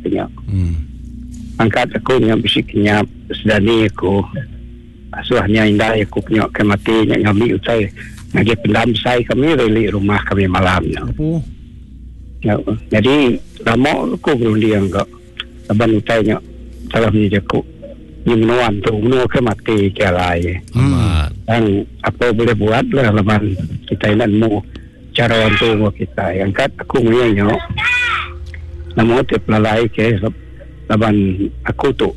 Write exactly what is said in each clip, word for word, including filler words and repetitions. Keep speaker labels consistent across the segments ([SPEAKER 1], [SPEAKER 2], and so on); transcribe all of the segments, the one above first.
[SPEAKER 1] kenya.
[SPEAKER 2] Hmm.
[SPEAKER 1] Angkat aku nya bisi kenyap sedani aku. Asuhnya indai aku punya ke mati nya ngambi utai ngagai pendam besai kami reli rumah kami malamnya.
[SPEAKER 2] Apa?
[SPEAKER 1] Ya, jadi lama aku berunding kak. Laban utai nya salah punya jaku. Ni menua tu menua ke mati ke alai.
[SPEAKER 2] Hmm.
[SPEAKER 1] Dan apa boleh buat lah laban kita nak nemu cara untuk kita. Angkat aku punya nama te pelalai ke laban aku tu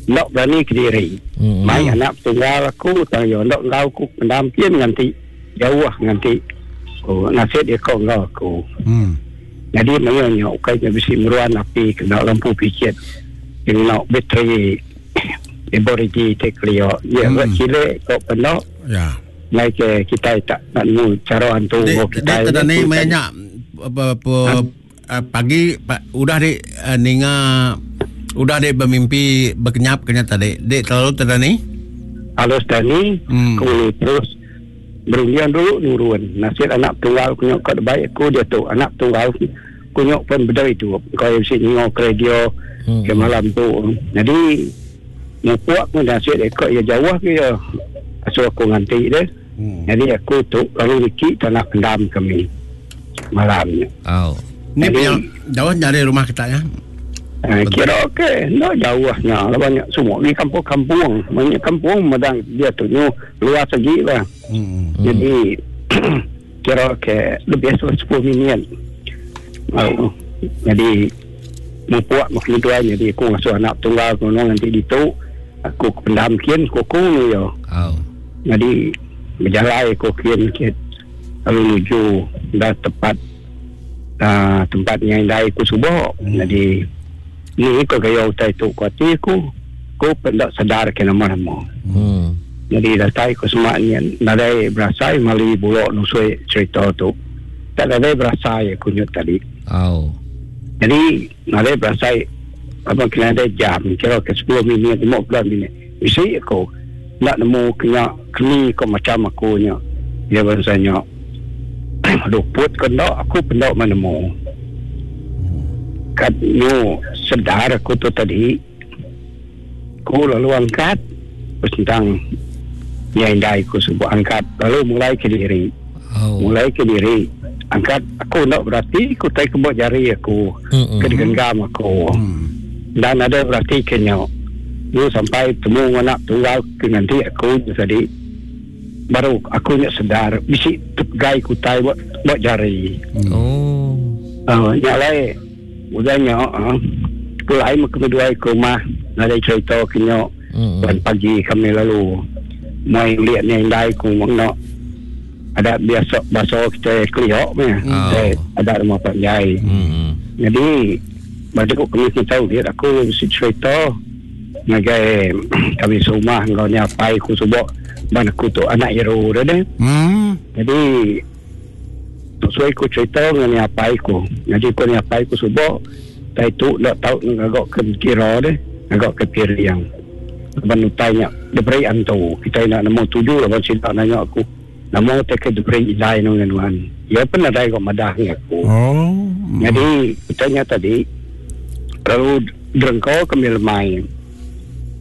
[SPEAKER 1] nak berani ke diri.
[SPEAKER 3] Hmm.
[SPEAKER 1] Mai anak tunggal aku tang yo ndok ngau aku pendam pin nganti jauh nganti. Oh, nasib dia kau ngau aku.
[SPEAKER 2] Hmm.
[SPEAKER 1] Jadi maya nya ukai nya bisi meruan api kena lampu picit. Kena bateri iboriji te klio. Ya
[SPEAKER 2] Hmm.
[SPEAKER 1] hmm. cile kau penak.
[SPEAKER 2] Ya.
[SPEAKER 1] Mai ke kita tak nak nemu cara hantu
[SPEAKER 2] Dek,
[SPEAKER 1] kau kita.
[SPEAKER 2] dek tadi maya apa apa pagi pa, udah dek uh, ninga udah dek bermimpi berkenyap kenya tadi. Dek terlalu tadi.
[SPEAKER 1] Halus tadi
[SPEAKER 2] Hmm.
[SPEAKER 1] aku terus berundian dulu nurun. Nasib anak tunggal kunyok kat baik aku dia tu. Anak tunggal kunyok pun berdari tu. Kau yang mesti nyingok radio
[SPEAKER 3] Hmm.
[SPEAKER 1] ke malam tu. Jadi mupuak pun nasib ekor ya jauh ke ya. Asuh aku nganti dia.
[SPEAKER 2] Hmm.
[SPEAKER 1] Jadi aku tu lalu dikit tanah pendam kami malamnya.
[SPEAKER 3] Oh.
[SPEAKER 2] Ni
[SPEAKER 1] Jadi-
[SPEAKER 2] punya jauh dari rumah kita ya.
[SPEAKER 1] Eh, kira ke no jauhnya lah banyak semua ni kampung-kampung banyak kampung madang dia tu nyu luas lagi lah.
[SPEAKER 2] Hmm.
[SPEAKER 3] Hmm.
[SPEAKER 1] Jadi kira ke lebih sepuluh minit. Oh, jadi mupuak makin dua jadi aku ngasuh anak tunggal aku nanti ditu aku pendam kian kuku ni yo.
[SPEAKER 3] Oh.
[SPEAKER 1] Jadi berjalan aku kian kian lalu menuju dah tepat uh, tempatnya indai aku subuh.
[SPEAKER 2] Hmm.
[SPEAKER 1] Jadi ni ko gaya utai tu ku hati aku aku pendak sedar ke nama-nama.
[SPEAKER 3] Hmm.
[SPEAKER 1] Jadi datai ku semak ni nadai berasai mali bulok nusui cerita tu. Tak nadai berasai aku nyut tadi.
[SPEAKER 3] Oh.
[SPEAKER 1] Jadi nadai berasai apa kena ada jam kira ke sepuluh minit lima belas minit. Bisi aku nak nemu kena keni ko macam aku nya. Dia bahasanya luput ke ndak aku pendak menemu. Kat nyu sedar aku tu tadi. Aku lalu angkat terus tentang yang indai aku sebut angkat lalu mulai ke diri.
[SPEAKER 3] Oh.
[SPEAKER 1] Mulai ke diri. Angkat aku nak berarti aku tai kebot jari aku.
[SPEAKER 3] Hmm.
[SPEAKER 1] Ke digenggam aku.
[SPEAKER 2] Hmm.
[SPEAKER 1] Dan ada berarti kena. Lu sampai temu anak tunggal ke nanti aku tadi. Baru aku nak sedar bisi tegai kutai buat buat jari.
[SPEAKER 2] Hmm.
[SPEAKER 3] Oh.
[SPEAKER 1] Uh, yang lain udahnya uh, pulai kedua ke rumah ada cerita kena
[SPEAKER 3] Hmm.
[SPEAKER 1] dan pagi kami lalu mai lihat ni indai ku nak ada biasa bahasa kita keliok ni
[SPEAKER 3] Oh.
[SPEAKER 1] hmm. ada rumah panjai.
[SPEAKER 3] Hmm.
[SPEAKER 1] Jadi baju kami kita tahu dia aku mesti cerita ngagai kami serumah ngau ni apai ku subok ban aku tu anak iru dia deh.
[SPEAKER 2] Hmm.
[SPEAKER 1] Jadi sesuai ku cerita dengan ni apai ku. Jadi ku ni apai ku subok tai tu nak tahu ngagak ke kira deh, ngagak ke piriang. Ban utainya diberi antu. Kita nak nemu tuju lah ban sida nanya aku. Nama te ke diberi idai nang nuan. Ya pun ada kok madah ni aku.
[SPEAKER 2] Oh.
[SPEAKER 1] Jadi utainya tadi lalu derengkau kami lemai.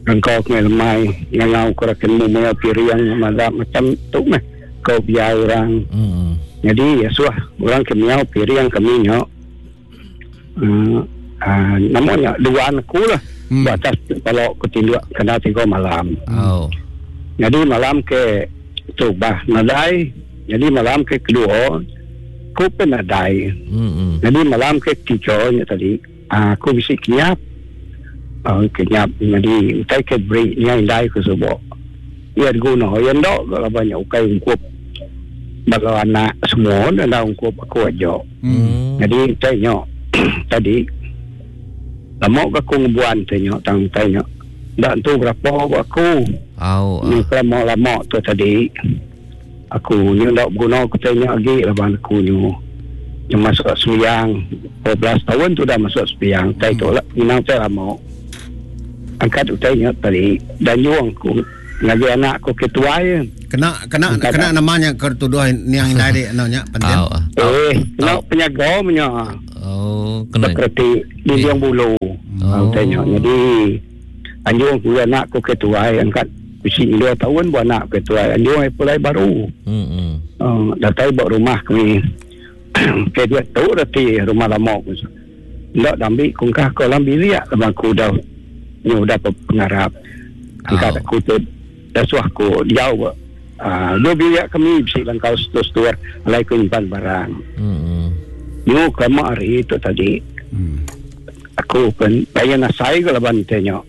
[SPEAKER 1] Derengkau kami lemai ngangau kurakan mu maya piriang madah macam tu meh. Kau biar orang.
[SPEAKER 3] Hmm.
[SPEAKER 1] Jadi ya suah orang kemiau piriang kami nyok. Uh, uh, namanya dua anakku lah.
[SPEAKER 2] Hmm.
[SPEAKER 1] Hmm. Atas kalau aku tinduk kena tiga malam.
[SPEAKER 3] Oh.
[SPEAKER 1] Jadi malam ke tu bah nadai. Jadi malam ke kedua aku pun nadai.
[SPEAKER 3] Hmm.
[SPEAKER 1] Jadi malam ke tiga nya tadi ah, aku bisi kenyap. Ah, kenyap jadi utai ke beri nya indai ku subok. Ia guna ya ndok kalau banyak ukai ungkup bala anak semua dan dah ungkup aku aja.
[SPEAKER 2] Hmm.
[SPEAKER 1] Jadi tanya tadi lama ke aku ngebuan tanya tang tanya. Dak tu berapa aku
[SPEAKER 3] Oh.
[SPEAKER 1] ni lama-lama tu tadi aku ni ndak guna aku tanya lagi laban aku ni yang masuk sembiang dua belas tahun tu dah masuk sembiang tai tu lah minang saya lama angkat utainya tadi dan juang aku ngaji anak aku ketua ya.
[SPEAKER 2] Kena kena
[SPEAKER 1] Angkat
[SPEAKER 2] kena namanya kertuduh niang indai dek nanya penting.
[SPEAKER 3] Oh.
[SPEAKER 1] Eh, kena penyaga punya.
[SPEAKER 3] Oh. Oh, kena
[SPEAKER 1] Seperti dinding bulu. Oh. Tanya. Jadi anjung ku anak ku ke tuai angkat bisi dua tahun bu anak ke tuai anjung ai pulai baru.
[SPEAKER 3] Hmm.
[SPEAKER 1] Uh, datai ba rumah kami. Ke dia tu reti rumah lama ku. Ndak dambi kungkah ke dalam bilik laban aku dah ni udah pengarap. Angkat
[SPEAKER 3] Oh.
[SPEAKER 1] aku tu dasuh aku jauh. Ah, uh, dua bilik kami bisi langkau setur-setur alai ku nyimpan barang.
[SPEAKER 3] Hmm.
[SPEAKER 1] Nyu kama hari tu tadi.
[SPEAKER 2] Hmm.
[SPEAKER 1] Aku pun bayar nasai ke laban tanya.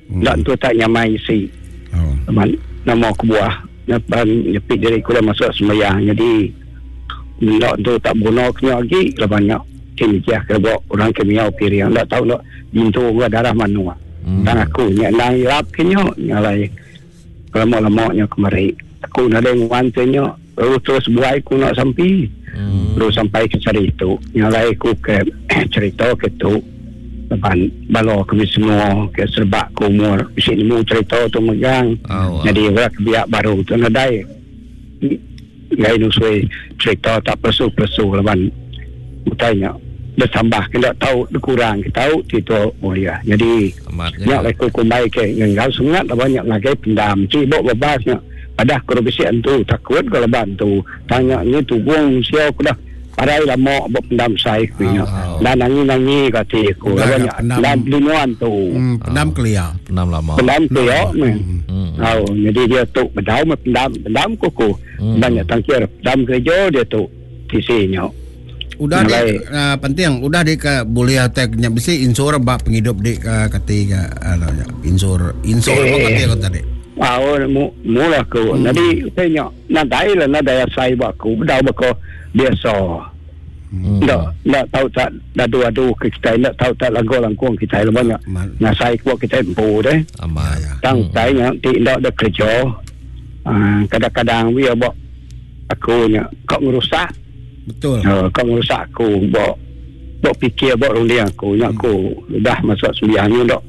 [SPEAKER 2] Hmm.
[SPEAKER 1] Ndak tu tak nyamai isi.
[SPEAKER 2] Oh.
[SPEAKER 1] Laban nama aku buah laban nyepi diri aku dah masuk sembahyang. Jadi ndak tu tak guna kena lagi laban nya kini jah ke bawa orang ke miau piring ndak tahu nak jintu ke darah manua.
[SPEAKER 3] Hmm.
[SPEAKER 1] Dan aku nya nang irap kenyo nyalai lama-lamanya kemari. Aku nadai nguan tanya lalu terus buai aku nak sampai.
[SPEAKER 3] Hmm.
[SPEAKER 1] Lalu sampai ke cari itu nyalai aku ke cerita ke tu laban balo kami semua ke serbak ke umur bisi nemu cerita tu megang.
[SPEAKER 3] Oh,
[SPEAKER 1] Jadi orang kebiak baru tu nadai ngai nusui cerita tak persu-persu laban utainya bertambah kena tahu kurang kita tahu itu mulia. Jadi
[SPEAKER 3] amat
[SPEAKER 1] nyak
[SPEAKER 3] ya.
[SPEAKER 1] aku kumbai ke ngau sungat laban nyak ngagai pendam cibok bebasnya padah ku bisi entu takut kalau bantu tanya ni tugung sia aku dah parai lama buat pendam sai ku nya.
[SPEAKER 3] Oh.
[SPEAKER 1] Dan nangi-nangi kati aku
[SPEAKER 2] Dah,
[SPEAKER 1] laban
[SPEAKER 2] dah,
[SPEAKER 1] nyak
[SPEAKER 2] pendam.
[SPEAKER 1] dan linuan tu.
[SPEAKER 2] Hmm, pendam kelia.
[SPEAKER 3] Pendam lama.
[SPEAKER 1] Pendam tu ya.
[SPEAKER 3] Hmm.
[SPEAKER 1] Oh, jadi dia tu bedau me pendam pendam kuku.
[SPEAKER 3] Hmm.
[SPEAKER 1] Banyak tangkir pendam kerja dia tu tisinya.
[SPEAKER 2] Udah di
[SPEAKER 1] Mulai.
[SPEAKER 2] uh, penting udah di ke boleh attack nya bisi insur bak penghidup di ke kati ke anu nya insur insur
[SPEAKER 1] Eh.
[SPEAKER 2] apa kati aku tadi.
[SPEAKER 1] Ah, oh, mu, mula aku.
[SPEAKER 2] Hmm.
[SPEAKER 1] Jadi tanya nadai lah nadai asai buat aku bedau bako biasa.
[SPEAKER 3] Hmm.
[SPEAKER 1] Tak tak tahu tak adu-adu ke kita tak tahu tak lagu langkung kita lah banyak.
[SPEAKER 2] Man-
[SPEAKER 1] Nasai kuat kita empu deh.
[SPEAKER 3] Amat.
[SPEAKER 2] Ya, ya.
[SPEAKER 1] Tang tanya tidak ada kerja. Ah, kadang-kadang dia buat aku nya kau ngerusak.
[SPEAKER 2] Betul.
[SPEAKER 1] Uh, kau ngerusak aku buat buat fikir buat runding aku nya aku dah masuk sembilan ni dok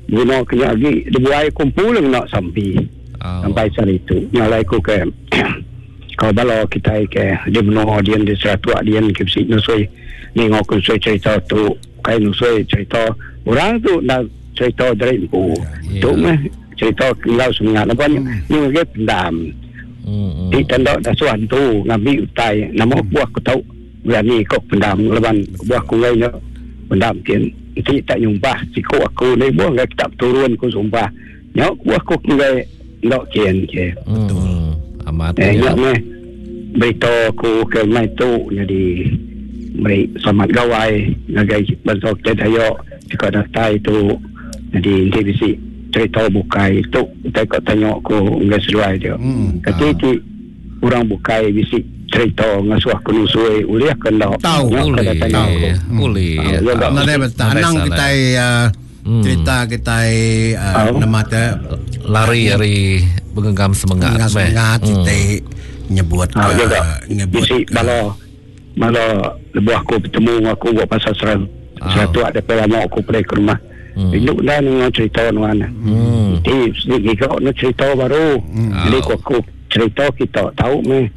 [SPEAKER 1] guna kena lagi dibuai kumpul nak sampai
[SPEAKER 3] Oh.
[SPEAKER 1] sampai saat itu nyalai aku ke kau balo kita ke di menua dia di Seratua dia ke besi nusui ni ngok nusui cerita tu kai nusui cerita orang tu nak cerita dari empu
[SPEAKER 3] Ya.
[SPEAKER 1] tu meh cerita kenal semangat apa ni ni ke pendam
[SPEAKER 3] Hmm. hmm.
[SPEAKER 1] di tanda dasuan tu ngambil utai nama buah aku tahu berani kau pendam leban buah aku ngai nya pendam kin ti tak nyumpah siku aku ni buah ngai tak turun ku sumpah nya buah aku ngai ndok kin ke
[SPEAKER 3] Betul. Hmm. Amat
[SPEAKER 1] eh
[SPEAKER 3] ya.
[SPEAKER 1] nya meh berita aku ke mai tu jadi beri selamat gawai ngagai bangsa kita Dayak jika datai tu jadi nanti bisi cerita bukai tu kita kau tanya aku ngai seluai dia
[SPEAKER 2] Hmm.
[SPEAKER 1] Kata ti orang bukai bisi cerita ngasuh aku nusui uliah ke ndak.
[SPEAKER 2] Tahu.
[SPEAKER 1] Nya
[SPEAKER 3] Boleh.
[SPEAKER 1] kena tanya aku.
[SPEAKER 3] Boleh.
[SPEAKER 1] Ah, ya, tak.
[SPEAKER 2] Nadai betul.
[SPEAKER 3] Nadai
[SPEAKER 2] Anang
[SPEAKER 3] salah.
[SPEAKER 2] kita uh,
[SPEAKER 3] Hmm.
[SPEAKER 2] cerita kita uh,
[SPEAKER 1] Oh.
[SPEAKER 2] nama te
[SPEAKER 3] Lari dari menggenggam semangat.
[SPEAKER 2] semangat
[SPEAKER 3] meh.
[SPEAKER 2] semangat
[SPEAKER 3] Hmm.
[SPEAKER 2] kita nyebut
[SPEAKER 1] Ha
[SPEAKER 2] ke
[SPEAKER 1] juga.
[SPEAKER 2] nyebut
[SPEAKER 1] Bisi
[SPEAKER 2] ke-
[SPEAKER 1] bala bala lebuh aku bertemu aku buat pasal seram.
[SPEAKER 3] Ah.
[SPEAKER 1] Seratu ada lama aku pergi ke rumah.
[SPEAKER 3] Hmm.
[SPEAKER 1] Induk dah dengan cerita nuan.
[SPEAKER 3] Hmm.
[SPEAKER 1] Di sedikit gigok nak cerita baru. Jadi
[SPEAKER 3] Ah.
[SPEAKER 1] aku, aku cerita kita tahu meh.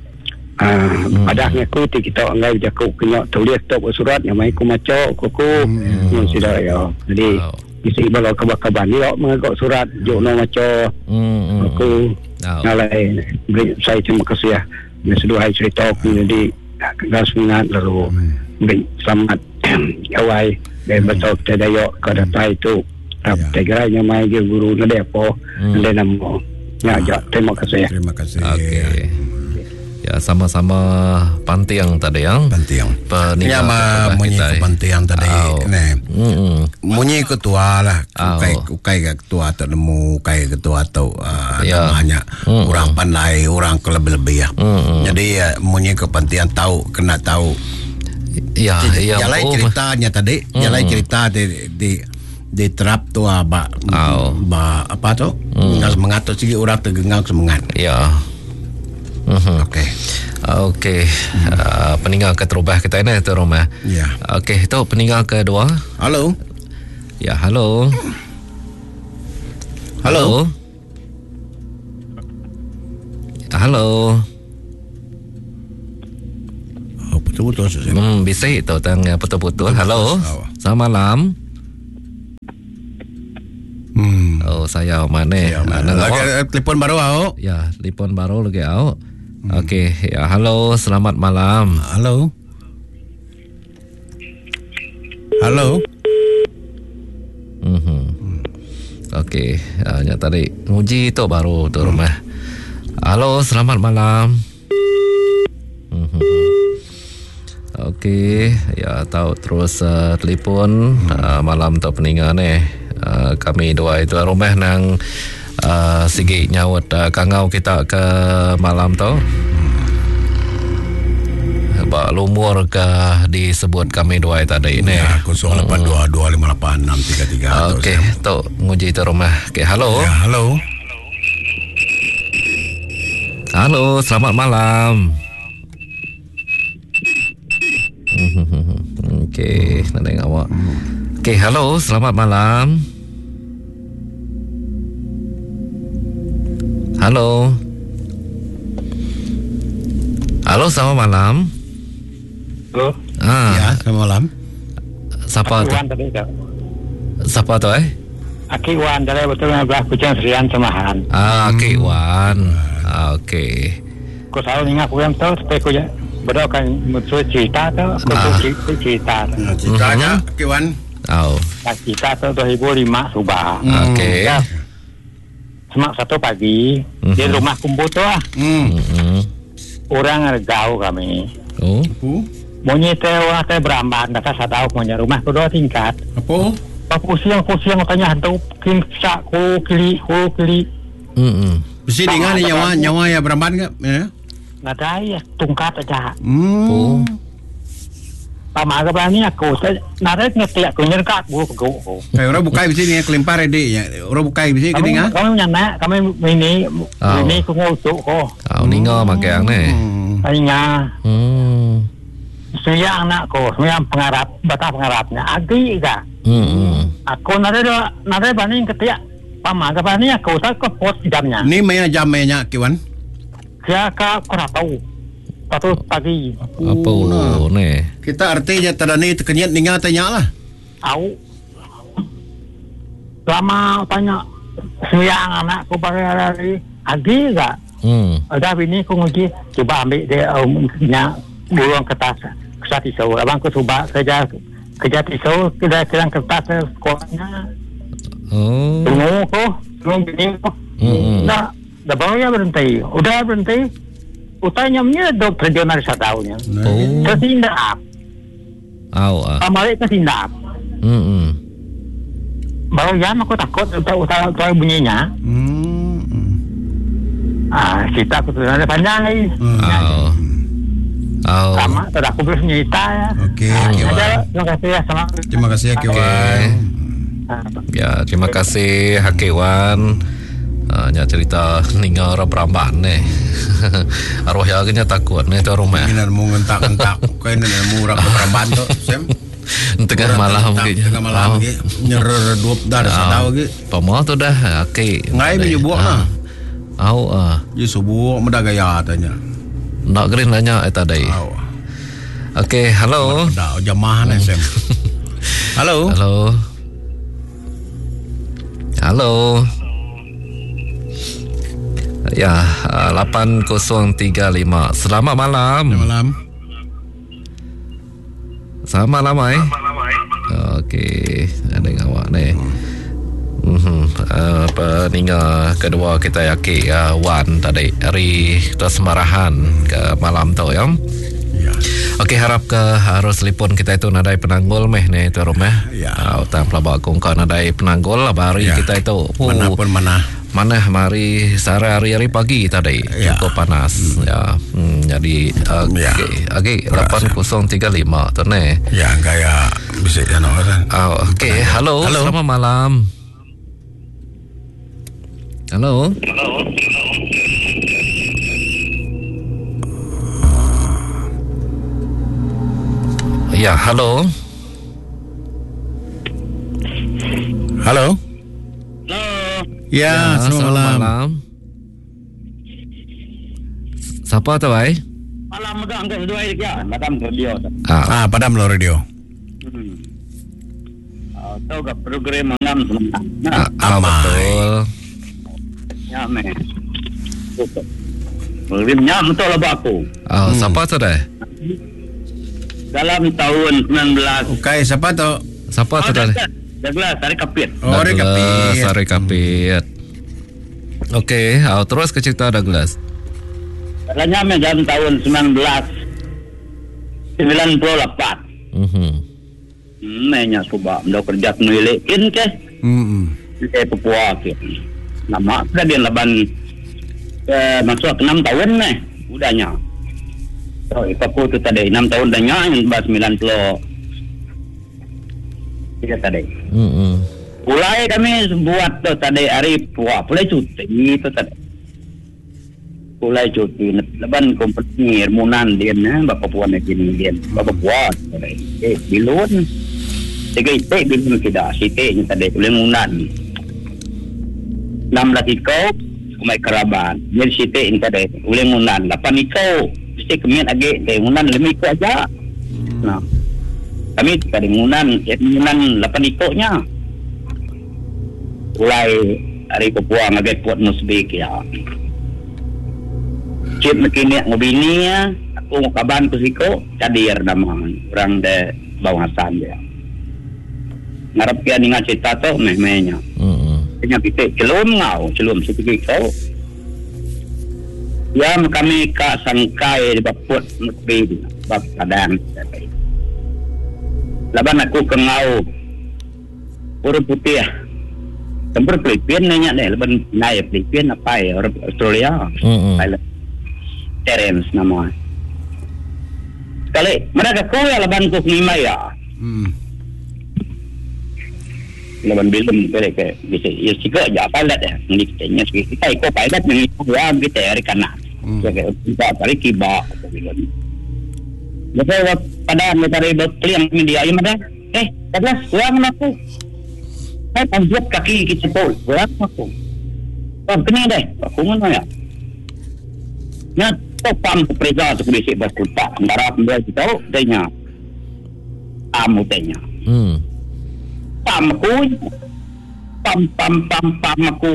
[SPEAKER 1] Ah, hmm. Padahnya aku ti kita ngai jaku kena tulis tok surat yang mai aku maca aku aku hmm. sudah ya. Jadi
[SPEAKER 3] Oh.
[SPEAKER 1] isi bala kabar-kabar ni ok mengagak surat juk no maca
[SPEAKER 3] Hmm. hmm.
[SPEAKER 1] aku
[SPEAKER 3] Oh.
[SPEAKER 1] ngalai beri saya terima kasih ya. Seduhai cerita aku jadi kenal semangat lalu beri selamat gawai dan betul kita dayak ke datai itu.
[SPEAKER 2] Ya.
[SPEAKER 1] Tegera nyamai je guru nade apa nade namo. Ya, ya, terima kasih.
[SPEAKER 2] Terima kasih.
[SPEAKER 3] Okey. Ya, sama-sama pantiang tadi yang.
[SPEAKER 2] Pantiang.
[SPEAKER 3] Peninggal
[SPEAKER 2] Ya ma
[SPEAKER 3] terubah
[SPEAKER 2] munyi
[SPEAKER 3] kita.
[SPEAKER 2] ke pantiang tadi.
[SPEAKER 3] Au.
[SPEAKER 2] Nah.
[SPEAKER 3] Hmm.
[SPEAKER 2] Munyi ketua lah.
[SPEAKER 3] Au.
[SPEAKER 2] Ukai ukai ke ketua atau nemu ukai ketua atau uh,
[SPEAKER 3] Ya.
[SPEAKER 2] namanya
[SPEAKER 3] Hmm.
[SPEAKER 2] orang pandai, orang kelebih-lebih ya.
[SPEAKER 3] Hmm.
[SPEAKER 2] Jadi uh, munyi ke pantiang tahu kena tahu.
[SPEAKER 3] Ya, ya.
[SPEAKER 2] Jalai
[SPEAKER 3] oh.
[SPEAKER 2] ceritanya tadi, jalai cerita di di di terap tu ah, ba,
[SPEAKER 3] Au.
[SPEAKER 2] ba apa tu? Hmm. Semangat tu segi orang tergengang semangat.
[SPEAKER 3] Ya. Mhm.
[SPEAKER 2] Okey.
[SPEAKER 3] Okey, hmm. uh, peninggal ke terubah kita ni tu rumah.
[SPEAKER 2] Ya.
[SPEAKER 3] Okey, tu peninggal kedua.
[SPEAKER 2] Halo.
[SPEAKER 3] Ya, halo.
[SPEAKER 2] Halo.
[SPEAKER 3] Halo.
[SPEAKER 2] Oh, putus. Putus-putus.
[SPEAKER 3] Hmm, bisi tu tang putus-putus. Halo. Selamat malam.
[SPEAKER 2] Hmm.
[SPEAKER 3] Oh, saya mana?
[SPEAKER 2] Ya, lagi telefon baru au.
[SPEAKER 3] Ya, telefon baru lagi au. Hmm. Okey, ya, halo, selamat malam.
[SPEAKER 2] Halo. Halo.
[SPEAKER 3] Mhm. Hmm. Okey, uh, nya tadi nguji tu baru tu rumah. Halo, selamat malam. Mhm. Okey, ya tahu terus uh, telefon hmm. uh, malam tu peningan ni. Uh, kami dua itu rumah nang uh, sigi nyaut uh, kangau kita ke malam tu. Bak lumur ke disebut kami dua tadi ni.
[SPEAKER 2] Ya, kosong lapan dua dua lima lapan enam tiga tiga.
[SPEAKER 3] Okey, tu nguji tu rumah. Okey, halo.
[SPEAKER 2] Ya, halo.
[SPEAKER 3] Halo, selamat malam. Okey, nak dengar awak. Okey, halo, selamat malam. Halo. Halo, selamat malam.
[SPEAKER 1] Halo.
[SPEAKER 3] Ah.
[SPEAKER 2] Ya, selamat malam.
[SPEAKER 3] Siapa tu?
[SPEAKER 1] Wan tadi tu.
[SPEAKER 3] Siapa tu eh?
[SPEAKER 1] Aki Wan dari betul belah Kuching Serian Semahan.
[SPEAKER 3] Ah, Aki Wan. Ah, okey.
[SPEAKER 1] Ku selalu ingat ku yang tu supaya ku berdoakan musuh cerita tu, aku
[SPEAKER 3] Ah.
[SPEAKER 1] cerita cerita.
[SPEAKER 2] Ya, ceritanya Ki Wan.
[SPEAKER 3] Oh.
[SPEAKER 1] Cerita tu dua ribu lima subah.
[SPEAKER 3] Okey.
[SPEAKER 1] Ya. Semak satu pagi
[SPEAKER 3] Mhm.
[SPEAKER 1] di rumah kumpul tu lah.
[SPEAKER 2] Hmm.
[SPEAKER 3] Mhm.
[SPEAKER 1] Orang gaul kami.
[SPEAKER 3] Oh.
[SPEAKER 2] Apa?
[SPEAKER 1] Bunyi teh orang teh beramban, kata saya tahu punya rumah tu dua tingkat.
[SPEAKER 2] Apa?
[SPEAKER 1] Pusing-pusing tanya hantu king sak ku kili ku kili.
[SPEAKER 3] Mhm.
[SPEAKER 2] Mesti dengar ni nyawa nyawa ya beramban ke? Ya.
[SPEAKER 1] Nadai ya tungkat aja.
[SPEAKER 2] Hmm.
[SPEAKER 3] Oh.
[SPEAKER 1] Pama ke berani aku nadai ngerti aku nyerkat bu ku.
[SPEAKER 2] Eh, orang bukai bisi ni kelimpar ede ya. Orang bukai bisi ke
[SPEAKER 1] Kami
[SPEAKER 2] dengar?
[SPEAKER 1] kami nyana kami ini
[SPEAKER 3] Oh.
[SPEAKER 1] ini ku ngutuk ko.
[SPEAKER 3] Ah, ninga magang ni.
[SPEAKER 2] Hmm.
[SPEAKER 1] Hanya
[SPEAKER 3] Hmm.
[SPEAKER 1] siang nak ko, siang pengarap, batah pengarapnya. Agi ka.
[SPEAKER 3] Hmm.
[SPEAKER 1] Aku nadai nadai berani ketiak. Pama ke berani aku tak ke pot jamnya.
[SPEAKER 2] Ni maya jam maya Ki Wan.
[SPEAKER 1] Dia ke kurang tahu. Satu pagi.
[SPEAKER 3] Apa ni?
[SPEAKER 2] Kita artinya tadani terkenyit ninga tanya lah.
[SPEAKER 1] Au. Lama tanya siang anak ku pakai hari agi ka.
[SPEAKER 3] Hmm.
[SPEAKER 1] Ada bini ku nguji cuba ambil dia um, nya burung kertas kertas tisu. Abang ku cuba kerja kerja tisu kerja kerja kertas sekolahnya.
[SPEAKER 3] Oh.
[SPEAKER 1] Tunggu ku, tunggu bini ku.
[SPEAKER 3] Hmm.
[SPEAKER 1] Nah, dah baru ya berhenti. Udah berhenti. Utanya menyedot terjun dari satu tahunnya.
[SPEAKER 3] Oh.
[SPEAKER 1] Tertindap.
[SPEAKER 3] Au ah.
[SPEAKER 1] Pamalik tertindap.
[SPEAKER 3] Hmm.
[SPEAKER 1] Baru jam aku takut utai utai bunyinya.
[SPEAKER 2] Hmm.
[SPEAKER 1] Ah, cerita aku tu ada panjang lagi.
[SPEAKER 2] Hmm.
[SPEAKER 3] Au. Au.
[SPEAKER 1] Sama, tak aku boleh cerita ya.
[SPEAKER 2] Okey,
[SPEAKER 1] Ah,
[SPEAKER 2] Ki Wan.
[SPEAKER 1] ada. Terima kasih ya sama.
[SPEAKER 2] Terima kasih ya Ki
[SPEAKER 3] Okey.
[SPEAKER 2] Wan.
[SPEAKER 1] Ah.
[SPEAKER 3] Ya, terima kasih Hakim Wan. Uh, nya cerita ninga orang beramban ni. Arwah ya kena takut ni tu rumah.
[SPEAKER 2] Ini nak mu ngentak-ngentak. Kau ini nak mu orang beramban tu, Sam.
[SPEAKER 3] Tengah malam
[SPEAKER 2] Tengah
[SPEAKER 3] ke.
[SPEAKER 2] Tengah malam ke. Nyeredup dah dah
[SPEAKER 3] Ah.
[SPEAKER 2] tahu ke.
[SPEAKER 3] Pama tu dah okey.
[SPEAKER 2] Ngai menyubuk lah.
[SPEAKER 3] Au ah.
[SPEAKER 2] Ye subuh muda gaya tanya.
[SPEAKER 3] Nak green nanya eh tadi.
[SPEAKER 2] Au.
[SPEAKER 3] Okey, halo.
[SPEAKER 2] Dah jemaah ni Sam. Halo.
[SPEAKER 3] Halo. Halo. Ya, lapan kosong tiga lima. Selamat malam.
[SPEAKER 2] Selamat malam.
[SPEAKER 3] Selamat malam eh. Okey, ada awak ni. Mhm. Uh, peninga kedua kita yaki uh, Wan tadi hari Kesemarahan ke malam tu ya.
[SPEAKER 2] Ya.
[SPEAKER 3] Okey, harap ke harus telefon kita itu nadai penanggul meh ni tu rumah.
[SPEAKER 2] Ya.
[SPEAKER 3] Uh, utang pelabak kongkau nadai penanggul lah hari
[SPEAKER 2] Ya.
[SPEAKER 3] kita itu. Oh,
[SPEAKER 2] Mana pun mana.
[SPEAKER 3] Mana mari sehari hari pagi tadi
[SPEAKER 2] Ya.
[SPEAKER 3] cukup panas hmm. ya. Hmm, jadi okey
[SPEAKER 2] Ya.
[SPEAKER 3] okey lapan kosong tiga lima tu ni.
[SPEAKER 2] Ya, gaya bisa ya no kan.
[SPEAKER 3] Oh, okey, halo,
[SPEAKER 2] Halo.
[SPEAKER 3] selamat malam. Halo. Ya, halo.
[SPEAKER 2] Halo. Ya, selamat malam.
[SPEAKER 3] malam. Siapa tu, ai?
[SPEAKER 1] Malam mega angkat seduai dia. Padam radio.
[SPEAKER 2] Ah, ah padam lo radio.
[SPEAKER 1] Hmm. Ah, tahu ke program malam sementara.
[SPEAKER 3] Ah, ah, betul.
[SPEAKER 1] Ya meh. Program nya betul lah aku.
[SPEAKER 3] Ah, hmm. Siapa tu dah?
[SPEAKER 1] Dalam tahun sembilan belas.
[SPEAKER 2] Okey, siapa tu?
[SPEAKER 3] Siapa tu dah?
[SPEAKER 1] Douglas Hari Kapit.
[SPEAKER 2] Oh, Hari Kapit.
[SPEAKER 3] Hari Kapit. Okey, ah, terus ke cerita Douglas.
[SPEAKER 1] Katanya dalam tahun sembilan belas sembilan puluh lapan.
[SPEAKER 3] Mhm.
[SPEAKER 1] Menya suba ndo kerja penulis kin ke.
[SPEAKER 2] Mhm.
[SPEAKER 1] Ke Papua ke. Nama dia laban eh, masuk enam tahun meh udahnya. So, aku tu tadi enam tahun dah nya sembilan puluh tiga tadi.
[SPEAKER 3] Mhm.
[SPEAKER 1] Mulai kami buat tu tadi hari Papua, pulai cuti tu tadi. Pulai cuti leban kompeni Hermunan dia nah bapa puan ni dia bapa puan eh bilun tiga itik bilun tidak sitik ni tadi boleh ngunan enam belas iko kumai keraban dia sitik ni tadi boleh ngunan lapan iko mesti kemit lagi dia ngunan lima iko aja nah kami tadi ngunan ngunan lapan iko nya mulai hari Papua ngagai Port Moresby ya. Cip mekini ngobini ya, aku mau kaban ke siko, cadir nama orang de Bawang Hasan dia. Ngarap kia ningat cerita tu meh-mehnya.
[SPEAKER 3] Mm-hmm.
[SPEAKER 1] Kena kita celum ngau, celum sikit kau. Ya kami ka sangkai di baput mekbi bab padang. Laban aku ke ngau orang putih. Tempur Filipin nanya deh, laban naik Filipin apa ya orang Australia.
[SPEAKER 3] Mm-hmm.
[SPEAKER 1] Terence nama. Sekali mereka ku ya laban ku lima ya.
[SPEAKER 2] Hmm.
[SPEAKER 1] Laban bilum kali ke bisa ya sika ja pilot ya. Ni kita nya kita ikut pilot ni ya kita hari kanan.
[SPEAKER 2] Hmm.
[SPEAKER 1] Ya kita hari kiba. Lepas pada metari berkeliang media ya mana? Eh, Douglas, kurang aku. Saya panjat kaki kita pol, kurang aku. Kau kena deh, aku mana ya? Nya pam pereza tu bisik berkutak antara dia kita tanya amu tanya
[SPEAKER 3] hmm
[SPEAKER 1] pam aku pam pam pam pam aku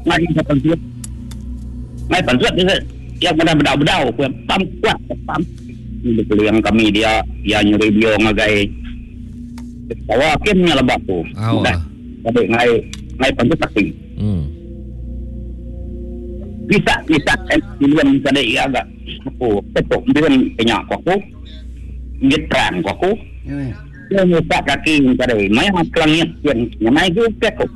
[SPEAKER 1] ngai panjat ngai panjat dia yang mana bedau-bedau aku pam kuat pam ini yang kami dia dia nyuri bio ngagai bawa kimnya lebak tu dah tapi ngai ngai panjat pasti
[SPEAKER 3] hmm
[SPEAKER 1] bisa bisa bilion tadi agak aku tetuk bilion banyak aku nyetrang aku dia nyetak kaki tadi mai kelangit yang mai ku aku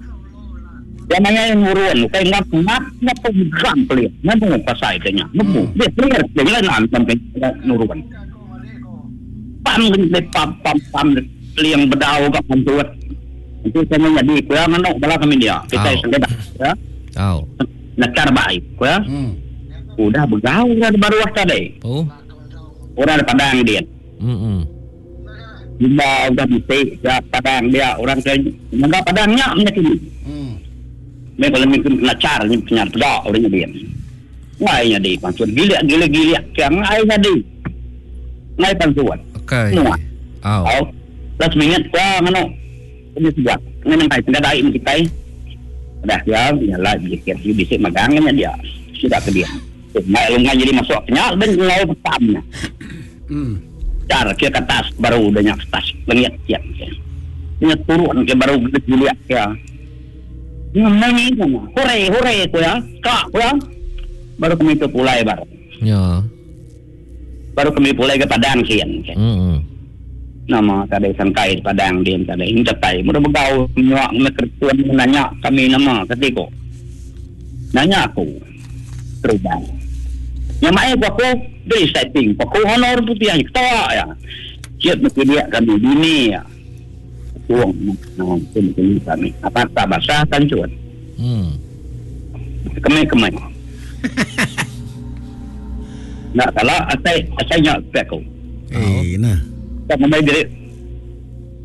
[SPEAKER 1] dia mai ngurun kai ngap ngap ngap geram pelit nemu pasai tanya nemu dia clear dia lan sampai nurun pam pam pam pam liang bedau gak pantuat itu saya jadi kurang manok bala kami dia kita sengketa ya
[SPEAKER 3] oh
[SPEAKER 1] nakar baik ya.
[SPEAKER 2] Hmm.
[SPEAKER 1] Udah begaul dah baru tadi.
[SPEAKER 3] Oh.
[SPEAKER 1] Orang Padang dia.
[SPEAKER 3] Hmm.
[SPEAKER 1] Bila udah bisik ya Padang dia orang ke enggak Padangnya menyakini.
[SPEAKER 2] Hmm.
[SPEAKER 1] Mereka kalau mungkin kena ni punya pedak orangnya dia. Ngainya di pancuan gila gila gila yang ngainya di. Ngai pancuan.
[SPEAKER 3] Okey.
[SPEAKER 1] Oh. Oh. Terus mingat gua ngono. Ini sebuah. Ngai ngai tidak dai kita. Dah dia nyala dikit dia bisik magangnya dia sudah ke dia. Ngai lungai jadi masuk kenyal ben ngau petamnya.
[SPEAKER 2] Hmm.
[SPEAKER 1] Cara ke atas baru udah nyak atas lengiat siap. Nya turun ke baru gede lihat ya. Ngai ni hore hore ko ya. Kak ko ya. Baru kami ke pulai baru.
[SPEAKER 3] Ya.
[SPEAKER 1] Baru kami pulai ke Padang kian.
[SPEAKER 3] Hmm.
[SPEAKER 1] Nama tadi sangkai Padang dia tadi ini tatai mudah begau nyuak ngekertuan nanya kami nama ketiko nanya aku terubang yang mai aku beri setting aku honor putih yang ketawa ya siap mesti dia kami bini ya tuang nah ini kami apa tak basah tancuan
[SPEAKER 3] hmm
[SPEAKER 1] kemai kemai nak kalau asai asai nyak aku
[SPEAKER 2] eh nah
[SPEAKER 1] tak memai diri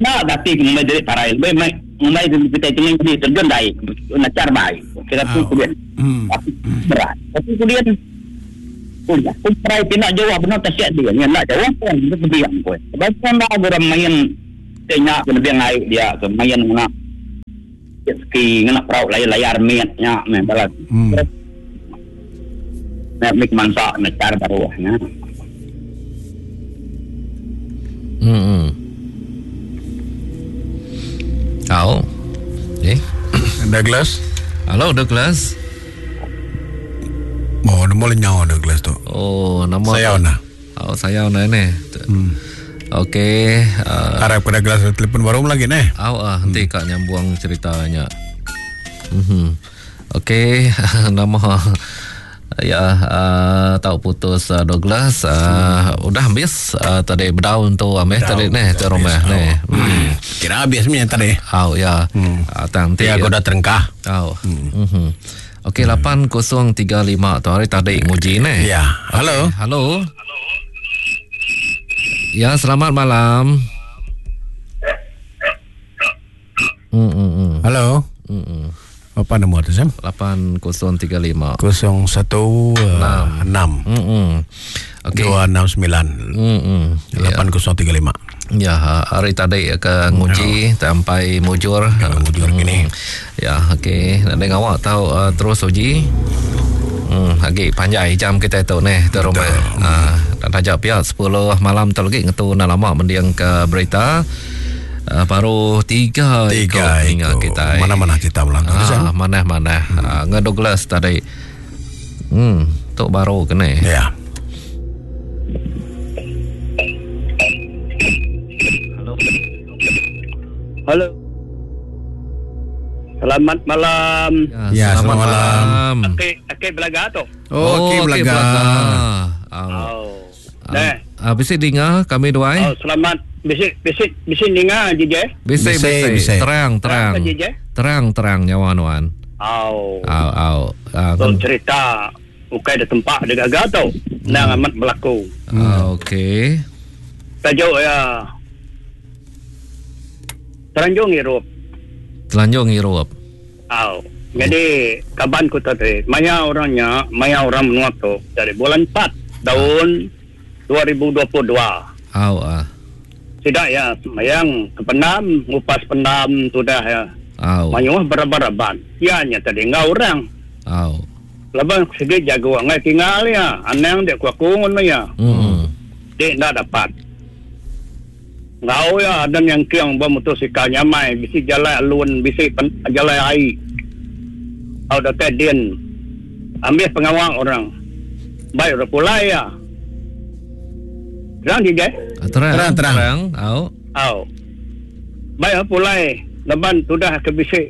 [SPEAKER 1] nak dati memai diri parai memai memai kita tinggal di terjun dai nak car bai kira tu kemudian
[SPEAKER 2] Hmm.
[SPEAKER 1] Tapi berat. Tapi kemudian Aku try pindah jauh benar tak dia. Ni nak jauh pun dia diam pun. Sebab pun dah orang main tengok ke lebih air dia ke main nak jet ski ngena perahu layar-layar miatnya meh balas. Hmm. Nak mik mangsa nak cara baru nya.
[SPEAKER 3] Hmm. Au. Eh.
[SPEAKER 2] Douglas.
[SPEAKER 3] Halo Douglas.
[SPEAKER 2] Oh, nama lenyau Douglas tu.
[SPEAKER 3] Oh, nama
[SPEAKER 2] saya nak.
[SPEAKER 3] Oh, saya nak ni. Hmm. Okey,
[SPEAKER 2] uh, harap pada Douglas telefon baru lagi ni.
[SPEAKER 3] Oh, ah, nanti hmm. kak nyambung ceritanya. Mhm. Okey, nama ya uh, tahu putus uh, Douglas uh, hmm. udah habis uh, tadi berdaun tu ameh tadi ni tu rumah ni.
[SPEAKER 2] Hmm. Kira habis ni tadi.
[SPEAKER 3] Oh ya. Hmm. Uh, tang
[SPEAKER 2] ya aku dah terengkah.
[SPEAKER 3] Oh. Hmm. Mhm. Okey, lapan kosong tiga lima tu hari tadi nguji ni.
[SPEAKER 2] Ya. Halo.
[SPEAKER 3] Okay. Halo. Ya, selamat malam. Hmm hmm. hmm.
[SPEAKER 2] Halo.
[SPEAKER 3] Hmm. hmm.
[SPEAKER 2] Apa nombor tu Sam?
[SPEAKER 3] lapan kosong tiga lima
[SPEAKER 2] kosong satu enam
[SPEAKER 3] Hmm. Okey.
[SPEAKER 2] dua enam sembilan
[SPEAKER 3] Hmm.
[SPEAKER 2] lapan kosong tiga lima.
[SPEAKER 3] Ya, hari tadi ke nguji sampai mujur.
[SPEAKER 2] Mujur gini.
[SPEAKER 3] Ya, okey. Nak dengar awak tahu uh, terus uji. Hmm, lagi panjang jam kita tu ni tu rumah. Ah, uh, dah ajak pihak sepuluh malam tu lagi ngetu nak lama mendiang ke berita. Uh, baru tiga,
[SPEAKER 2] tiga
[SPEAKER 3] ikut kita.
[SPEAKER 2] Mana-mana cerita ulang tu.
[SPEAKER 3] Ah, mana-mana. Hmm. Uh, dengan Douglas tadi. Hmm, tok baru kena.
[SPEAKER 2] Ya.
[SPEAKER 1] Halo. Halo. Selamat malam.
[SPEAKER 2] Ya, ya selamat, selamat malam.
[SPEAKER 1] malam. Okey, okey belaga tu.
[SPEAKER 2] Oh, okey belaga.
[SPEAKER 1] Oh. Nah,
[SPEAKER 3] ah bisi dengar kami dua.
[SPEAKER 1] Oh, selamat bisi bisi bisi dengar J J.
[SPEAKER 3] Bisi bisi terang terang. Terang terang nyawa nuan.
[SPEAKER 1] Au.
[SPEAKER 3] Au au.
[SPEAKER 1] Uh, cerita bukan ada tempat ada gagal tu. Nang amat berlaku.
[SPEAKER 3] Hmm. Okey.
[SPEAKER 1] Tajuk ya. Telanjung hirup.
[SPEAKER 3] Telanjung hirup.
[SPEAKER 1] Au. Jadi kaban ku tadi, maya orangnya, maya orang menua tu dari bulan empat tahun dua ribu dua puluh dua.
[SPEAKER 3] Au ah.
[SPEAKER 1] Tidak ya, yang kependam, ngupas pendam sudah ya.
[SPEAKER 3] Au.
[SPEAKER 1] Mayuh beraba-raban. Ya nya tadi ngau orang.
[SPEAKER 3] Au.
[SPEAKER 1] Laban segi jago ngai tinggal ya, anang dek ku aku ngono ya.
[SPEAKER 3] Hmm.
[SPEAKER 1] Dek ndak dapat. Ngau ya ada yang kiang bermotosikal nyamai, bisi jalan alun, bisi pen, jalan air. Au datai din. Ambil pengawal orang. Baik orang pulai ya. Terang je,
[SPEAKER 3] terang,
[SPEAKER 2] terang, terang.
[SPEAKER 3] Terang. Au.
[SPEAKER 1] Au. Baik pulai, leban sudah ke bisik.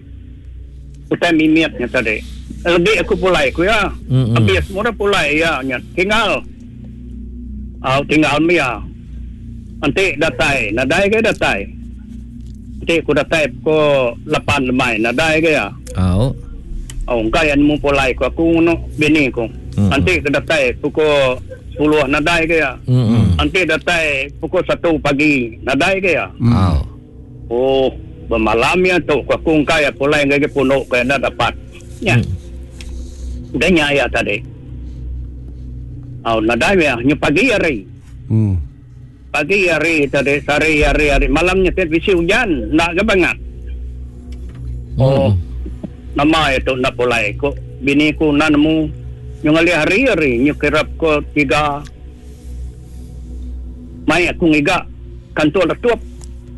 [SPEAKER 1] Utai mimiatnya tadi. Lebih aku pulai ku ya.
[SPEAKER 3] Mm-hmm.
[SPEAKER 1] Habis semua orang pulai ya, nya. Tinggal. Au tinggal mia. Nanti datai, nadai ke datai. Nanti aku datai pukul lapan lemai, nadai ke ya.
[SPEAKER 3] Au.
[SPEAKER 1] Oh, engkau yang mu pulai ku aku ngono bini ku.
[SPEAKER 3] Mm-hmm.
[SPEAKER 1] Nanti aku datai pukul sepuluh nadai ke ya.
[SPEAKER 3] Mm-hmm.
[SPEAKER 1] Nanti datai pukul satu pagi nadai ke ya.
[SPEAKER 3] Mm. Oh.
[SPEAKER 1] Oh, bermalam ya tu aku engkau ya pulai ngagi pondok ke dah dapat. Ya.
[SPEAKER 3] Mm.
[SPEAKER 1] Udah nya ya tadi. Oh, nadai ya, nyu pagi hari.
[SPEAKER 2] Hmm.
[SPEAKER 1] Pagi hari tadi, sehari hari hari malamnya tiap bisi hujan, nak ke bangat.
[SPEAKER 3] Oh.
[SPEAKER 1] Oh. Nama itu nak pulai ko bini ku nak nemu nyu ngali hari-hari nyu kirap ko tiga mai aku ngiga kantor letup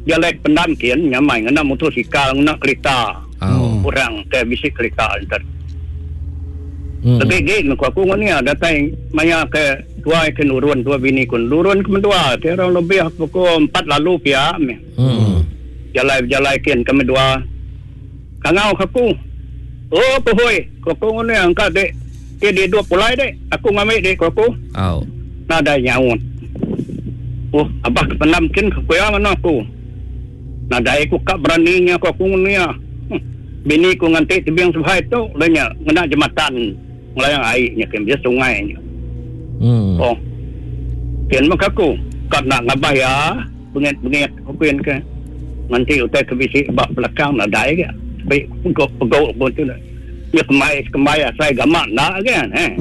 [SPEAKER 1] jalek pendam kian nyamai ngena motosikal ngena kereta.
[SPEAKER 3] Oh.
[SPEAKER 1] Orang ke bisi kereta entar.
[SPEAKER 3] Hmm.
[SPEAKER 1] Lebih gig aku aku ngoni datai maya ke tua ke nurun tua bini ku nurun ke mendua kira lebih pukul empat lalu pia.
[SPEAKER 3] Hmm.
[SPEAKER 1] Jalai-jalai kian kami dua. Kangau aku. Oh, pohoi, aku ngono angkat dek. Dia dia dua pulai dek. Aku ngambil dek aku.
[SPEAKER 3] Au.
[SPEAKER 1] Nadai nyaut. Oh, abah kependam kin ku ya ngono aku. Nadai aku kak beraninya aku aku ngono ya. Hmm. Bini ku nganti tebing subhai tu, lenya ngena jembatan ngelayang airnya ke dia sungainya.
[SPEAKER 3] Hmm.
[SPEAKER 1] Oh. Kian mak aku kak nak ngabah ya, bengit-bengit aku kian ke. Nganti utai ke bisi bak belakang nadai ke. Baik pegau pun tu lah. Ya kemai kemai saya gamak nak kan eh.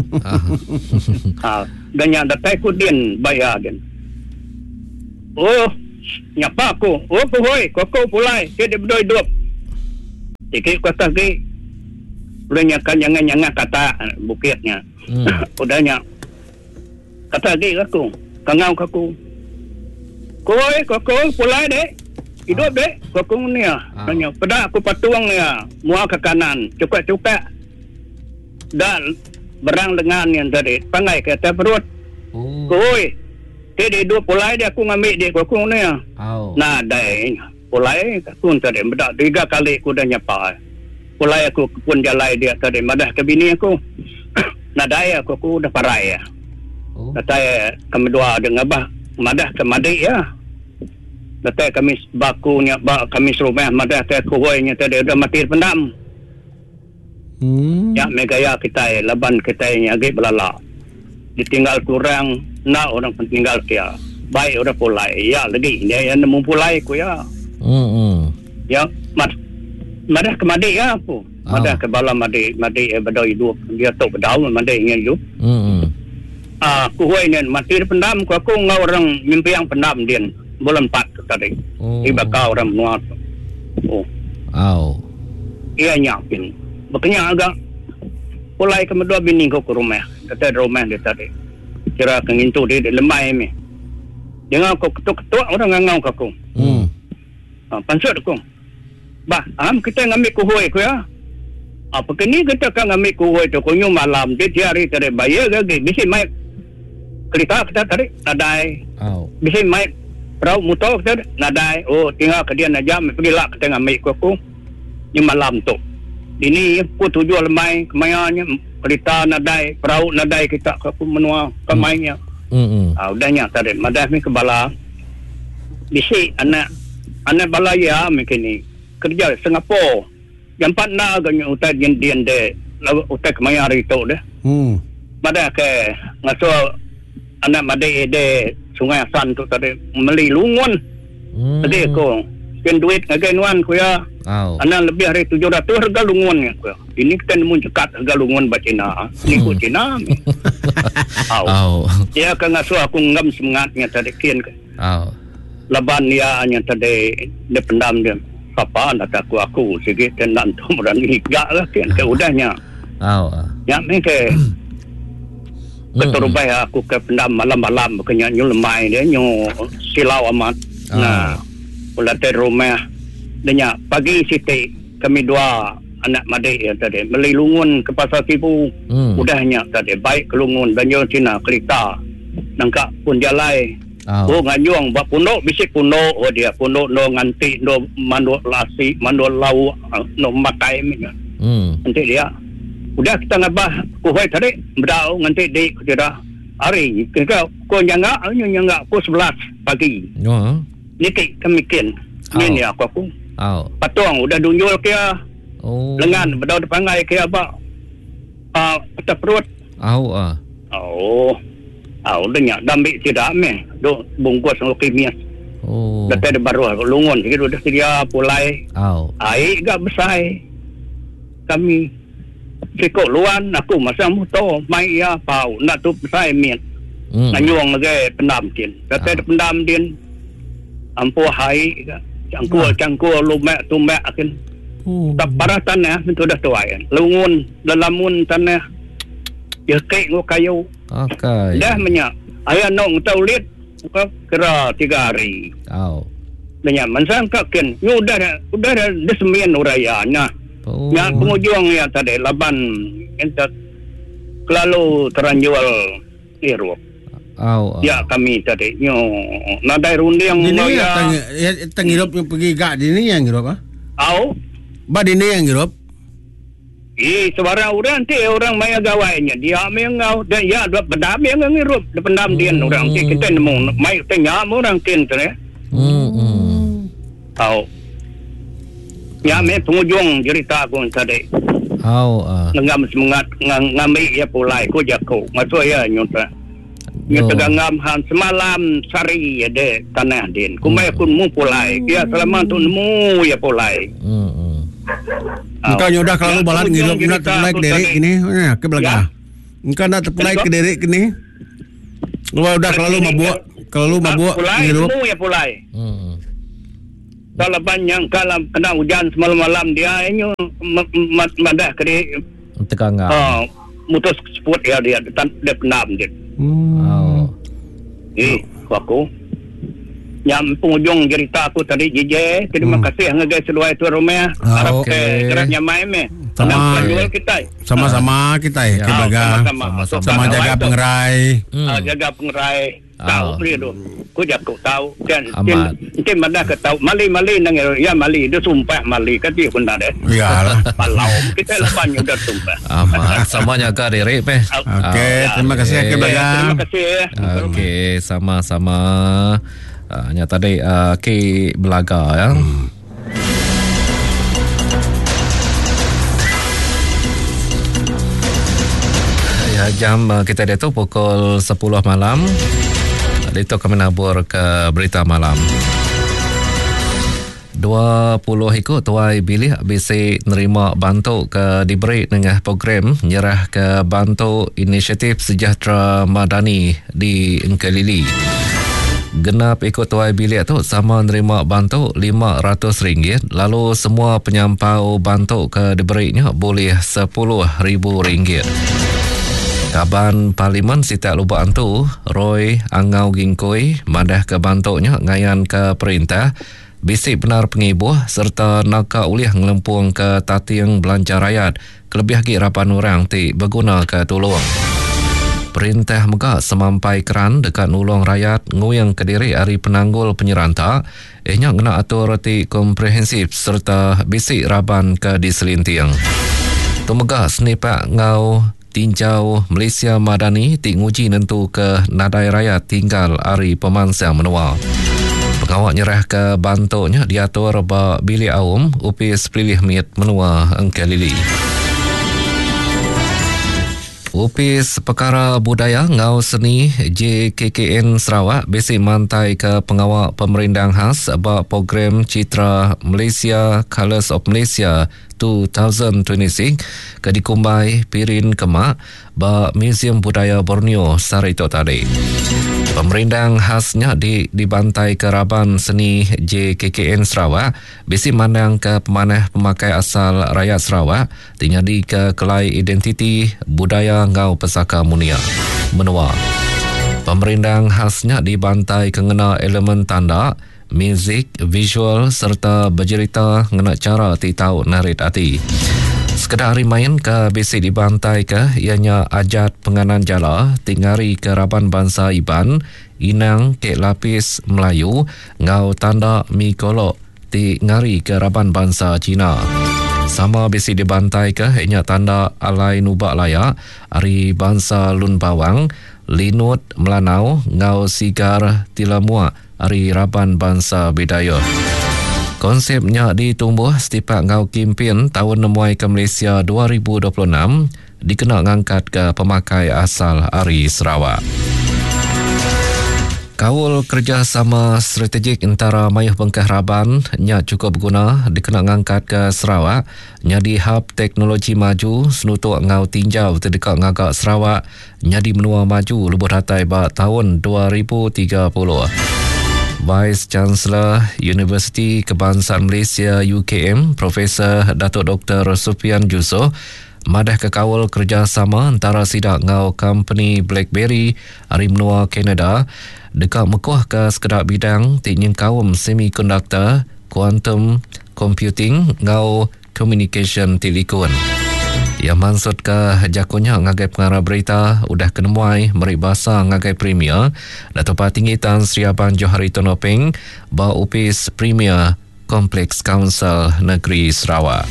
[SPEAKER 1] Ha, Dan nya datai ku din bayar din. Oh, nyapa aku. Oh, kuhoi, koko pulai, ke dia bedoi hidup. Sikit ku atas lagi. Udah nya kan jangan-jangan kata bukitnya.
[SPEAKER 3] Hmm.
[SPEAKER 1] Udah nya kata lagi aku, kangau ke aku. Kuhoi, koko pulai dek. Hidup dek, koko ni ah.
[SPEAKER 3] Ah.
[SPEAKER 1] Nanya, peda aku patung ya, mua ke kanan, cukak-cukak. Dan berang lengan yang tadi, pangai ke atas perut.
[SPEAKER 3] Oh.
[SPEAKER 1] Kuhoi, dia hidup pulai dia aku ngambil dia koko ni ah.
[SPEAKER 3] Au.
[SPEAKER 1] Nah, dai pulai aku tadi bedak tiga kali aku dah nyapa. Pulai aku ke pun jalai dia tadi madah ke bini aku. Nadai aku aku dah parai ya.
[SPEAKER 3] Oh.
[SPEAKER 1] Datai kami dua ada ngabah madah ke madik ya. Datai kami baku nya ba kami serumah madah ke kuhoi nya tadi udah mati pendam.
[SPEAKER 2] Hmm.
[SPEAKER 1] Ya megaya kita laban kita ni agi belala. Ditinggal kurang nak orang tinggal kia. Baik orang pulai. Ya lagi dia yang nemu pulai ku ya.
[SPEAKER 3] Hmm. hmm.
[SPEAKER 1] Ya mat madah ke madik ya aku. Madah
[SPEAKER 3] Ah.
[SPEAKER 1] ke bala madik madik eh, bedau hidup. Dia tok bedau madik dengan hidup.
[SPEAKER 3] Hmm. hmm.
[SPEAKER 1] Ah, aku hoi ni mati dia pendam ku aku ngau orang mimpi yang pendam dia bulan empat tu tadi.
[SPEAKER 3] Oh.
[SPEAKER 1] Di bakal orang menua tu. Oh,
[SPEAKER 3] Au.
[SPEAKER 1] iya nyapin. Bekenya agak pulai ke medua bini ku ke rumah. Kata di rumah dia tadi. Kira ke ngintu dia di lemai ni. Dengar aku ketuk-ketuk orang ngangau ke aku.
[SPEAKER 3] Hmm.
[SPEAKER 1] Ha, pansut aku. Bah, am kita ngambil kuhoi ku ya. Apa kini kita kan ngambil kuhoi tu kunyu malam dia tiap hari tadi bayar lagi. Bisi mai kereta kita tadi nadai.
[SPEAKER 3] Au.
[SPEAKER 1] Bisi mai perahu motor kita nadai. Oh, tinggal ke dia nak jam pergi lah kita ngambil ku aku. Ni malam tu. Ini aku tujuh lemai kemayanya kereta nadai, perahu nadai kita ke aku menua kemainya.
[SPEAKER 3] Hmm. hmm.
[SPEAKER 1] Ah, udahnya tadi madah ni ke bala. Bisi anak anak bala ya mungkin ni kerja Singapura. Jam empat nak agaknya utai dien dien de utai kemaya hari tu deh.
[SPEAKER 2] Hmm.
[SPEAKER 1] Madah ke ngasuh anak madai de Sungai Asan tu tadi meli lungun.
[SPEAKER 3] Hmm.
[SPEAKER 1] Lagi aku spend duit ngagai nuan ku ya.
[SPEAKER 3] Au.
[SPEAKER 1] Anak lebih hari tujuh ratus harga lungun ya ku. Ini kita nemu cekat harga lungun ba Cina. Ni ku Cina. Au.
[SPEAKER 3] Au.
[SPEAKER 1] Dia ke ngasuh aku ngam semangatnya tadi kian ke.
[SPEAKER 3] Au.
[SPEAKER 1] Laban dia nya tadi dia pendam dia. Papa nak aku aku sikit dan nak tu berani gak lah kian ke udahnya.
[SPEAKER 3] Au.
[SPEAKER 1] Ya ni ke keterubai aku ke pendam malam-malam kena nyu lemai dia nyu silau amat.
[SPEAKER 3] Ah.
[SPEAKER 1] Nah, ulah dari rumah dia nya pagi siti kami dua anak madik ya tadi beli lungun ke pasar Sibu.
[SPEAKER 3] Hmm.
[SPEAKER 1] Udahnya tadi baik ke lungun banjir Cina kereta nangkak pun jalai.
[SPEAKER 3] Au.
[SPEAKER 1] Oh nganyung bak pondok bisik pondok oh dia pondok no nganti no manduk lasi manduk lauk no makai ni.
[SPEAKER 3] Hmm.
[SPEAKER 1] Nanti dia udah kita ngabah kuhoi tadi bedau nganti di kira hari kita ko nyangga nyangga ko sebelas pagi.
[SPEAKER 3] Oh.
[SPEAKER 1] Niki kami kin.
[SPEAKER 3] Oh.
[SPEAKER 1] Ni aku aku.
[SPEAKER 3] Au.
[SPEAKER 1] Patung udah dunjul ke
[SPEAKER 3] Oh.
[SPEAKER 1] lengan bedau depangai ke apa. Ah uh, perut.
[SPEAKER 3] Au ah.
[SPEAKER 1] Oh. Ah udah nyak dambik tidak meh. Duk bungkus ngau kimias.
[SPEAKER 3] Oh.
[SPEAKER 1] Datai de baru lungun sikit udah sedia pulai.
[SPEAKER 3] Au.
[SPEAKER 1] Air gak besar. Kami sikok luan aku masa motor mai ya pau nak tu besar miat.
[SPEAKER 3] Hmm.
[SPEAKER 1] Nganyuang lagi pendam din. Datai
[SPEAKER 3] Ah.
[SPEAKER 1] de pendam din. Ampu hai gak. Cangkul cangkul lumek tumek akin.
[SPEAKER 2] Oh.
[SPEAKER 1] Tak parah tanah itu dah tuai. Lungun lelamun tanah. Ya kek ngau kayu.
[SPEAKER 3] Akai.
[SPEAKER 1] Dah menyak. Ayah nong tau lit kira tiga hari.
[SPEAKER 3] Au.
[SPEAKER 1] Menyak mansang kakin. Nyu udah dah udah dah desemian uraya nah.
[SPEAKER 3] Oh.
[SPEAKER 1] Nya penghujung ya tadi laban entat kelalu teranjual irup.
[SPEAKER 3] Au.
[SPEAKER 1] Ya kami tadi nyu nadai runding
[SPEAKER 2] Dini
[SPEAKER 1] ngau
[SPEAKER 2] ya
[SPEAKER 1] ya.
[SPEAKER 2] tang ya tang hidup yang pergi gak dini yang hidup ah.
[SPEAKER 1] Au.
[SPEAKER 2] Ba dini yang hidup.
[SPEAKER 1] Eh, sebarang orang ti orang maya gawainya dia mengau dan ya dua pendam yang ngirup dia pendam dia orang ti kita nemu mai tanya orang tin tu ya.
[SPEAKER 3] Hmm. hmm.
[SPEAKER 1] Au. Ya me penghujung cerita aku tadi.
[SPEAKER 3] Au ah.
[SPEAKER 1] Ngam semangat ngam ngambil ya pulai ku jaku. Masuk ya nyuta. Nyuta
[SPEAKER 3] Oh.
[SPEAKER 1] ngam han semalam sari ya de tanah din. Kumai aku nemu pulai. Ya selama tu nemu ya pulai.
[SPEAKER 3] Hmm. hmm.
[SPEAKER 1] Au.
[SPEAKER 2] Engkau nyudah kalau
[SPEAKER 1] Ya,
[SPEAKER 2] balat
[SPEAKER 1] penghujung
[SPEAKER 2] ngirup nak
[SPEAKER 1] cerita
[SPEAKER 2] terpulai
[SPEAKER 1] aku
[SPEAKER 2] ke derek
[SPEAKER 1] tadi.
[SPEAKER 2] kini. Ya, ke belakang.
[SPEAKER 1] Ya.
[SPEAKER 2] Engkau nak terpulai
[SPEAKER 1] Betul.
[SPEAKER 2] ke derek kini. Udah udah kelalu mabuk, kelalu mabuk
[SPEAKER 4] pulai
[SPEAKER 2] ngirup.
[SPEAKER 4] Nemu ya pulai.
[SPEAKER 3] Hmm.
[SPEAKER 4] Kalau banyak kalau kena hujan semalam-malam dia ini madah ke dia
[SPEAKER 3] Tegangan.
[SPEAKER 4] Uh, mutus seput ya dia dia penam dia.
[SPEAKER 2] Hmm.
[SPEAKER 3] Oh.
[SPEAKER 4] Eh, aku yang penghujung cerita aku tadi J J, terima
[SPEAKER 2] Hmm.
[SPEAKER 4] kasih ngagai seluai tuan rumah.
[SPEAKER 2] Oh,
[SPEAKER 4] Harap
[SPEAKER 3] okey.
[SPEAKER 4] ke gerak nyamai meh.
[SPEAKER 2] Sama.
[SPEAKER 4] Sama kita.
[SPEAKER 2] Sama-sama kita ya,
[SPEAKER 3] Ya.
[SPEAKER 2] ke Belaga.
[SPEAKER 4] Sama-sama.
[SPEAKER 3] Sama-sama.
[SPEAKER 2] Sama jaga pengerai.
[SPEAKER 3] Hmm.
[SPEAKER 4] Ah, jaga pengerai. Tahu
[SPEAKER 3] Ah.
[SPEAKER 4] dia tu. Ku jago tahu kan.
[SPEAKER 3] Amat.
[SPEAKER 4] Mungkin mana ke tahu mali-mali nang ya mali dia sumpah mali kan dia pun ada.
[SPEAKER 2] Iyalah.
[SPEAKER 4] Palau kita lepas udah sumpah.
[SPEAKER 3] Amat. Sama jaga diri meh.
[SPEAKER 2] Okey, terima kasih
[SPEAKER 3] Okey.
[SPEAKER 2] ke Belaga.
[SPEAKER 4] Terima kasih ya.
[SPEAKER 3] Okey, sama-sama. Uh, nya tadi uh, Ki Belaga ya. Hmm. Ya, jam uh, kita dia tu pukul sepuluh malam. Itu kami nabur ke berita malam. dua puluh ikut tuai bilik bisi nerima bantu ke diberi dengan program nyerah ke bantu inisiatif sejahtera madani di Engkelili. Genap ikut tuai bilik tu sama nerima bantu lima ratus ringgit, lalu semua penyampau bantu ke diberinya boleh sepuluh ribu ringgit. Kaban Parlimen Sitak Lubak Antu, Roy Angau Gingkoi, madah ke bantuknya ngayan ke perintah bisik benar pengibuh serta naka ulih ngelempung ke tating belanja rakyat kelebih lagi rapan orang ti berguna ke tolong. Perintah mega semampai keran dekat nulung rakyat nguyang ke diri hari penanggul penyeranta ehnya ngena atur ti komprehensif serta bisik raban ke diselinting. Tu mega senipak ngau tinjau Malaysia Madani ti nguji nentu ke nadai rakyat tinggal ari pemansang menua. Pengawak nyerah ke bantuknya diatur ba bilik aum Upis Pelilih Mit Menua Engkelili. Upis Perkara Budaya Ngau Seni J K K N Sarawak bisi mantai ke pengawak pemerindang khas ba program Citra Malaysia Colours of Malaysia dua ribu dua puluh enam ke dikumbai Pirin Kemak ba Museum Budaya Borneo sehari itu tadi. Pemerindang khasnya di dibantai ke Raban Seni J K K N Sarawak bisi mandang ke pemanah pemakai asal rakyat Sarawak tinggal ke kelai identiti budaya ngau pesaka munia menua. Pemerindang khasnya dibantai ke ngena elemen tanda, muzik, visual serta bercerita ngena cara ti tau narit hati. Sekedar hari main ke bisi dibantai ke ianya ajat penganan jala tingari ke raban bangsa Iban, inang kek lapis Melayu ngau tanda mi kolok ti ngari ke raban bangsa Cina. Sama bisi dibantai ke ianya tanda alai nubak layak ari bangsa Lun Bawang, Linut Melanau ngau sigar Tilamua ari raban bangsa Bidayuh. Konsepnya ditumbuh setipak ngau kimpin tahun nemuai ke Malaysia dua ribu dua puluh enam dikena ngangkat ke pemakai asal ari Sarawak. Kaul kerjasama strategik antara mayuh bengkah raban nya cukup berguna dikena ngangkat ke Sarawak nyadi hub teknologi maju senutuk ngau tinjau terdekat ngagak Sarawak nyadi menua maju lebuh datai ba tahun dua ribu tiga puluh. Vice Chancellor Universiti Kebangsaan Malaysia U K M Profesor Datuk Doktor Sufian Jusoh madah ke kaul kerjasama antara sidak ngau company BlackBerry ari menua Kanada dekat mekuh ke sekedak bidang ti nyengkaum semiconductor, quantum computing ngau communication telecom. Ia maksud ke jakonya ngagai pengarah berita udah kenemuai meri basa ngagai Premier Datuk Patinggi Tan Sri Abang Johari Tun Openg ba Upis Premier Kompleks Council Negeri Sarawak.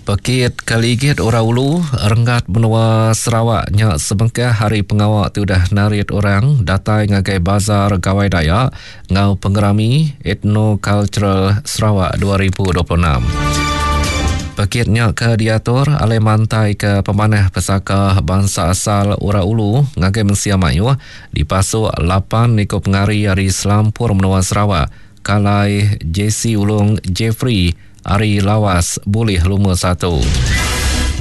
[SPEAKER 3] Pekit Kaligit Orang Ulu Renggat Menua Sarawak nya sebengkah hari pengawak tu dah narit orang datai ngagai Bazar Gawai Dayak ngau pengerami Ethno-Cultural Sarawak dua ribu dua puluh enam. Pekitnya ke diatur alai mantai ke pemanah pesaka bangsa asal Orang Ulu ngagai Mensia Mayuh dipasuk lapan ikut pengari ari Selampur Menua Sarawak kalai J C Ulung Jeffrey ari Lawas boleh lumur satu.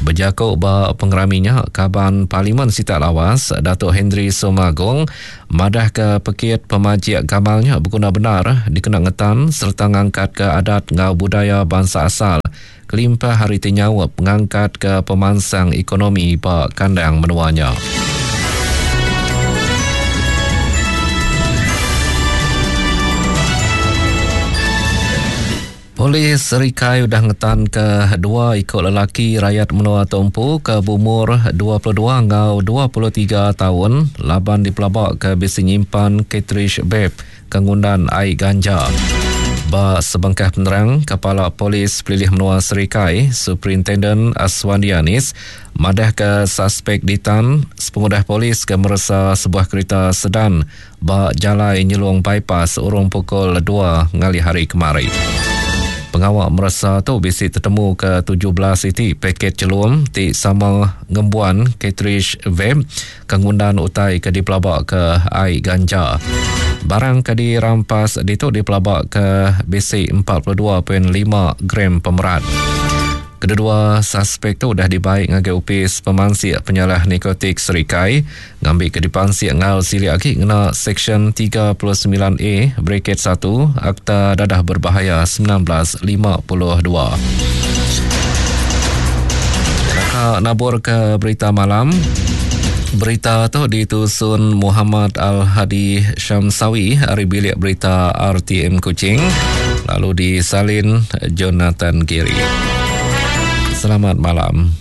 [SPEAKER 3] Bejaku ba pengeraminya, Kaban Parlimen Sitak Lawas, Datuk Henry Sumagong, madah ke pekit pemajik gamalnya beguna benar dikena ngetan serta ngangkat ke adat ngau budaya bangsa asal kelimpah hari tinyaup ngangkat ke pemansang ekonomi ba kandang menuanya. Polis Serikai udah ngetan ke dua ikut lelaki rakyat menua Tumpu ke berumur dua puluh dua ngau dua puluh tiga tahun laban dipelabak ke bisi nyimpan cartridge vape ke ngundan air ganja. Ba sebengkah penerang, Kepala Polis Pelilih Menua Serikai, Superintendent Aswandianis, madah ke suspek ditan sepengudah polis ke meresa sebuah kereta sedan ba Jalai Nyelung Bypass urung pukul dua ngalih hari kemari. Pengawak meresa tu bisi tetemu ke tujuh belas iti paket celum ti sama ngembuan cartridge vape ke ngundan utai ke dipelabak ke air ganja. Barang ke dirampas ditu dipelabak ke bisi empat puluh dua perpuluhan lima gram pemerat. Kedua-dua suspek tu dah dibaik ngagai Opis Pemansik Penyalah Narkotik Serikai ngambil ke dipansik ngau silik lagi ngena Seksyen tiga puluh sembilan A bracket satu Akta Dadah Berbahaya sembilan belas lima puluh dua. Maka nabur ke berita malam. Berita tu ditusun Muhammad Al-Hadi Syamsawi dari bilik berita R T M Kuching, lalu disalin Jonathan Giri. Selamat malam.